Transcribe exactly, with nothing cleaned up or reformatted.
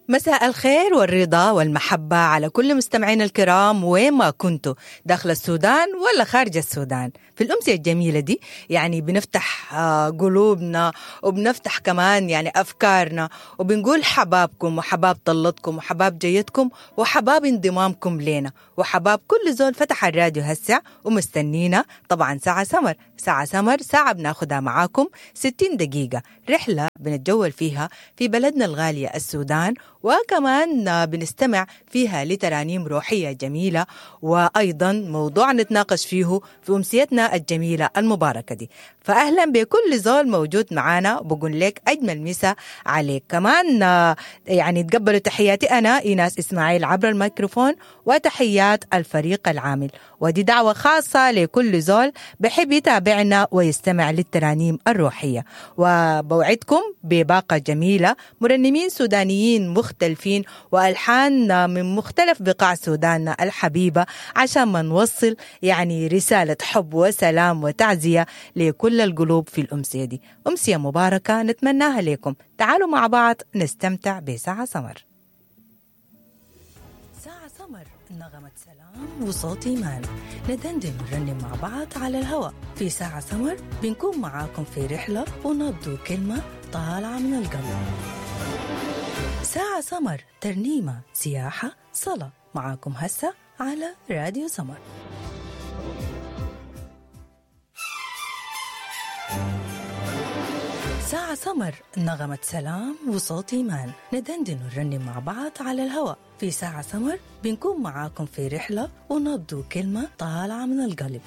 مساء الخير والرضا والمحبة على كل مستمعينا الكرام وين ما كنتوا، داخل السودان ولا خارج السودان. في الأمسية الجميلة دي يعني بنفتح آه، قلوبنا وبنفتح كمان يعني أفكارنا، وبنقول حبابكم وحباب طلتكم وحباب جيتكم وحباب انضمامكم لينا وحباب كل زول فتح الراديو هسه ومستنينا. طبعا ساعة سمر، ساعة سمر ساعة بناخدها معاكم ستين دقيقة رحلة بنتجول فيها في بلدنا الغالية السودان، وكمان بنستمع فيها لترانيم روحية جميلة، وأيضا موضوع نتناقش فيه في أمسيتنا الجميلة المباركة دي. فأهلا بكل زول موجود معانا، بقول لك أجمل مسا عليك. كمان يعني تقبلوا تحياتي أنا إيناس إسماعيل عبر الميكروفون، وتحيات الفريق العامل، ودي دعوة خاصة لكل زول بحب يتابعنا ويستمع للترانيم الروحية. وبوعدكم بباقة جميلة، مرنمين سودانيين مختلفين وألحان من مختلف بقاع سوداننا الحبيبة، عشان ما نوصل يعني رسالة حب وسلام وتعزية لكل القلوب في الأمسية دي. أمسية مباركة نتمناها لكم. تعالوا مع بعض نستمتع بساعة سمر. ساعة سمر، نغمة سلام وصوت إيمان، ندندن ونرنم مع بعض على الهواء. في ساعة سمر بنكون معاكم في رحلة ونبض كلمة طالعة من القلب. ساعة سمر، ترنيمة، سياحة، صلاة، معاكم هسه على راديو سمر. ساعة سمر، نغمة سلام وصوت إيمان، ندندن ونرنم مع بعض على الهواء. في ساعة سمر بنكون معاكم في رحلة ونبض كلمة طالعة من القلب.